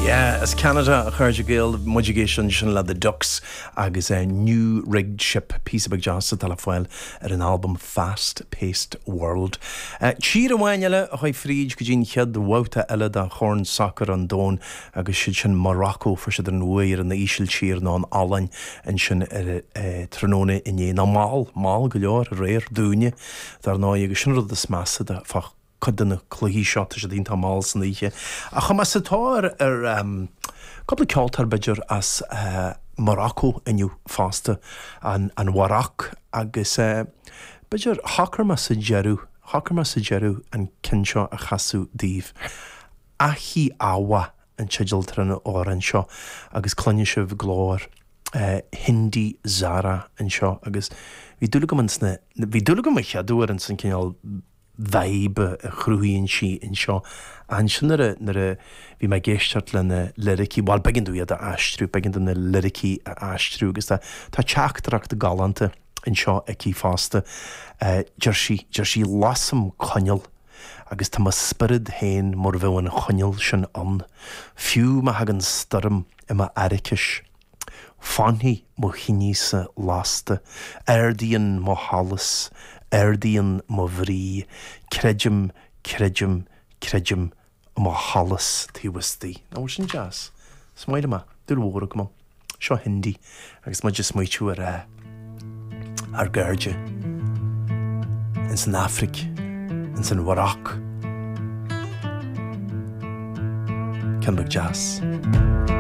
Yeah, as Ceanada, a chairde Gael, muid ag éisteacht ansin le The Ducks agus New Rigged Ship, píosa beag deas atá le fáil ar an albam Fast Paced World. Tír amháin eile a chuaigh fríd go dtí an chéad bhabhta eile de Chorn Sacair an Domhain agus siad sin Morocco, fuair siad an bhuaidh ar an Ísiltír nó an Ollainn ansin ar tráthnóna inné, nó mall, mall go leor aréir, dúinne, dar ndóigh, agus sin an rud is measa de fá cuid de na cluichí seo, tá siad iontach mall san oíche. Ach chuaigh mé sa tóir ar cúpla ceoltóir b'fhéidir as Morocco inniu fosta, an Mharoc, agus b'fhéidir shocair mé sa deireadh, shocair mé sa deireadh an ceann seo a chasadh daoibh. Achi Awa an teideal atá ar an amhrán seo agus cluinfidh sibh glór Hindi Zahra anseo agus bhí dúil agam ins na, bhí dúil agam an chéad uair ins an cineál vibe a chruthaíonn sí anseo. Ansin nuair a, nuair a bhí mé ag éisteacht le na liricí, bhuel b'éigean domh iad a aistriú, b'éigean dom na liricí a aistriú agus tá, tá teachtaireacht galánta anseo aici fosta. Deir sí, deir sí lasaim coinneal agus tá mo spiorad féin mar bheadh an choinneal sin ann, fiú má thagann stoirm i m'airicis. Fanfaidh mo thinese lasta, ardaíonn mo sholas, ardaíonn mo bhrí, creidim, creidim, creidim i mo sholas taobh istigh. Nach bhfuil sin deas? Is maith liom é. Dúil mhór agam ann. Seo Hindi agus muid ag smaoitiú ar ár gcairde ins an Afraic, ins an Mharoc. Ceann beag deas.